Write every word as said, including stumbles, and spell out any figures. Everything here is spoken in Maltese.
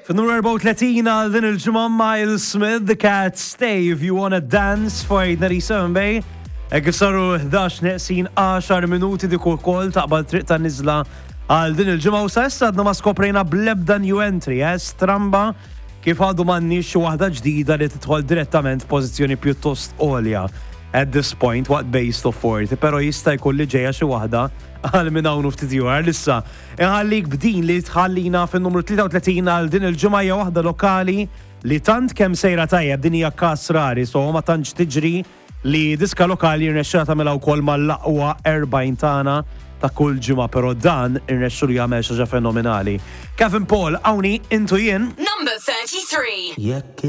Fin-numru erbgħa u tletin għal din il-ġimgħa, Myles Smith, The Cat, "Stay If You Wanna Dance" for eight ninety-seven Bay. Hekk saru ħdax neqsin għaxar minuti, dik ukoll taqbad triq ta' nizla għal din il-ġimgħa u sa issa għadna ma skoprejna blebda new entry, eh? Stramba kif għadu m'għandniex xi waħda ġdida li tidħol direttament pożizzjoni pjuttost għolja at this point waqt Best of forty, pero jista' jkun li ġejja xi waħda għal minn hawn u ftit ieħor. Issa inħallik b'din li tħallina fin-numru tlieta u tletin għal din il-ġimgħa, hija waħda lokali li tant kemm sejra tajjeb, din hija kas rari, so ma tantx tiġri li diska lokali jirnexxila tagħmilha wkoll mal-aqwa erbgħin tagħna ta' kull ġimgħa, però dan irnexxielu jagħmel xi ħaġa fenomenali. Kevin Paul, Awni, Intu Jien. Number thirty-three. Jekk